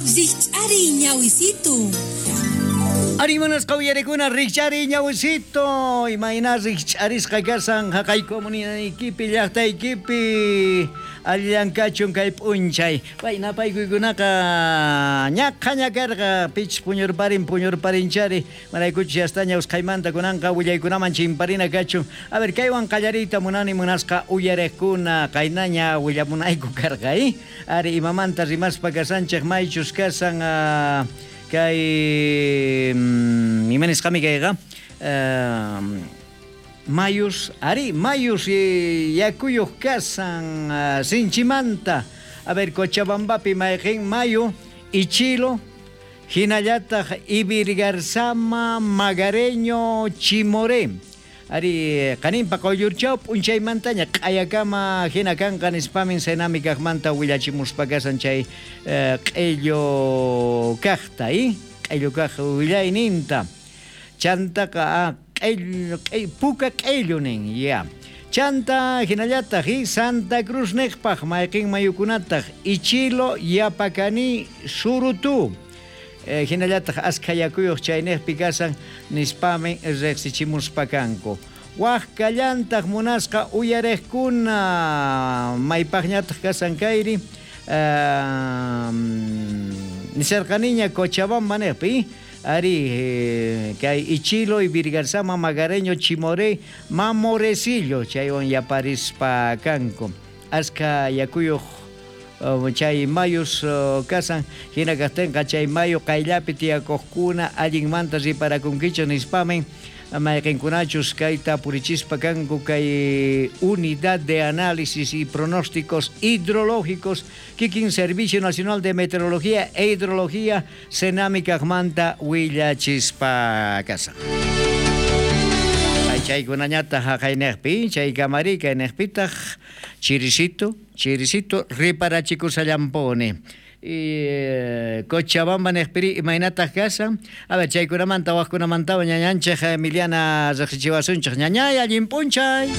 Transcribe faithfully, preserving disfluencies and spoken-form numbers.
Rikch'ariy, ñawisitu. Ari, munasqa uyarikuna, rikch'ariy, ñawisito. Imayna rikch'arisqa kasan haqay comunidadaykipi, llaqtaykipi? Allillan kachun kay p'unchay. Payna paykuykunaqa ñaqhaña karqa, pichus puñurparin puñurparinchari, maraykuchus yastaña usqhaymanta kunanqa willaykunaman chimparina kachun. A ver, kaywan qallariyta munani, munasqa uyariqkuna, qaynaña willamunayku karqa, eh? Ari, imamanta rimaspa kasanchej, maychus kasan uh, kay mm, ima nisqami kayqa uh, mayus, ari, mayus yakuyuq kasan uh, sinchimanta. A ver, Cochabambapi mayqin mayu, Ichilo, hinallataq Ibirgarzama, Magareño, Chimoré. Ari, qaninpa quyllurchaw p'unchaymantaña q'ayakama hina kanqa nispamin Senami kaqmanta willachimuspa kasan chay eh, q'illu kaqta, eh? Q'illu kaq willayninta. Chantaqa ah, q'illu, q'illu, puka q'illu nin, ya. Chanta hinallataq eh, Santa Cruz niqpaq mayqin mayukunataq Ichilo, Yapacani, Surutu. Eh, hinallataq askha yakuyuq chayniqpi kasan nispami riqsichimuspa kanku. Waj kallantaq, munasqa uyariqkuna, maypaqñataq kasan kayri uh, nisarqaniña Cochabamba niqpi, ari eh, kay Ichilo, Ibirgarzama, Magareño, Chimoré, Mamorecillo chaywan yaparispa kanku. Askha yakuyuq chay mayus kasan, hina kaqtinqa chay mayu qayllapi tiyakuqkuna allinmanta riparakunkichu nispamin mayqinkunachus kayta purichispa kanku kay Unidad de Análisis y Pronósticos Hidrológicos kikin Servicio Nacional de Meteorología e Hidrología Senami kaqmanta willachispa kasan. Chaykunañataq haqayniqpi, chay kamari kayniqpitaq chirisito, chirisito riparachikushallampuni. Y Cochabamba niqpiri imaynataq kasan? A ver, chaykunamanta waqkunamantawan ñañanchej Emiliana riqsichiwasunchej. Ñañay, allin p'unchay.